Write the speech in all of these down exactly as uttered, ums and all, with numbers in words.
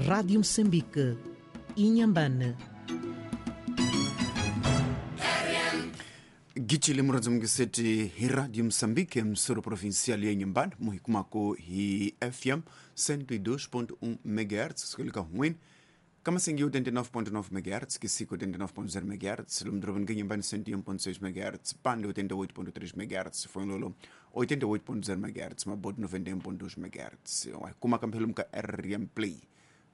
Rádio Moçambique, Inhambane. Gitshile muradzi hi Radio Moçambique msoro provincial ya Inhambane muhikumako hi F M cento e dois ponto um megahertz skolika huin Kamasingi oitenta e nove ponto nove megahertz, Kisiko oitenta e nove ponto zero megahertz, Lumdroban Inhambane cento e um ponto seis megahertz, Pande oitenta e oito ponto três megahertz, Fonlolo oitenta e oito ponto zero megahertz, Mabote noventa e um ponto dois megahertz. Kuma kampelo mka R M Play.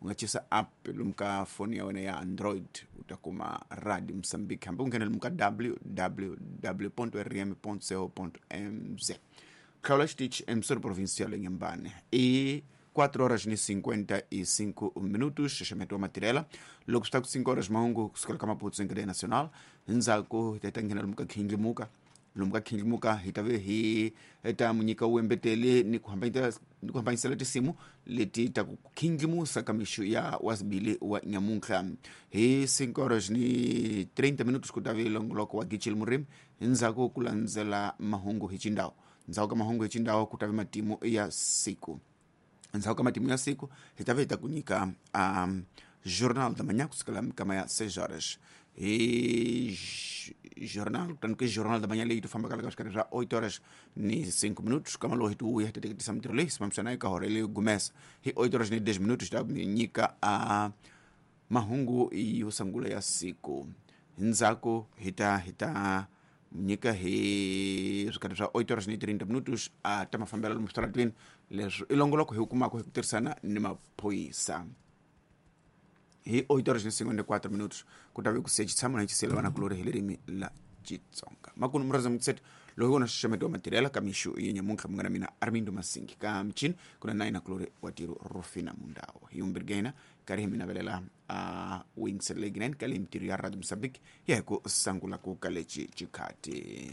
Ungachisa app lumka phone ya wena ya Android utakuma Radio Moçambique hambe ungena lumka w w w ponto r m ponto co ponto m z. Klaula Stitch emsoro provincial Inhambane. E quatro horas e cinquenta e cinco minutos, xaxamento wa matirela. Logo está com cinco horas mahungu kusukela Maputo em cadeia nacional. Nzaku tetangena lumka khindlimuka. Lumka khindlimuka hitave hi eta munyika uembetele ni kuhambanyisa ni kuhambanyisela tisimu leti ta ku khindlimusa ka mixo ya wasibili wa nyamuntlha. Hi cinco horas ni trinta minutos kutave longoloko wa Gichil Murim. Nzaku kulandzela mahungu hi chindao. Nzaku ka mahungu hi chindao kutave matimu ya siku. Ndzhaku ka matimu ya siku hi ta ve hi ta ku nyika um, jornal da manhã kusukela mikama ya seis horas hi jornal kutani ke jornal da manhã leyi to fambaka ka swikarhi swa oito horas ni cinco minutos kama loko hi ti vuya hi ta teketisa mintirho leyi simamisana eka hora leyi gumesa hi oito horas ni dez minutos ta nyika a mahungu yo sungula ya siku. Ndzhaku hi ta hi ta nyika hi swikarhi swa oito horas ni trinta minutos a ta mafambelo lomu switarateni leswi i longoloko hi kumaka hi ku tirhisana ni maphorisa. Hi oito horas ni cinquenta e quatro minutos ku ta ve ku sechi tshama na xisela vana kulori hi ririmi la Xitsonga. Makunu muraza mutset loko na xixemeto wa matirela ka mixo ya nyamuntlha munghana mina Armindo Masingi ka mchini kuna nine kulori wa tiro Rufina Mundao. Hi umbirgena karhi hi mina velela a wings legnen ka le mintirho ya Radio Moçambique ya hi ku sangula ku ka lexi xikhati.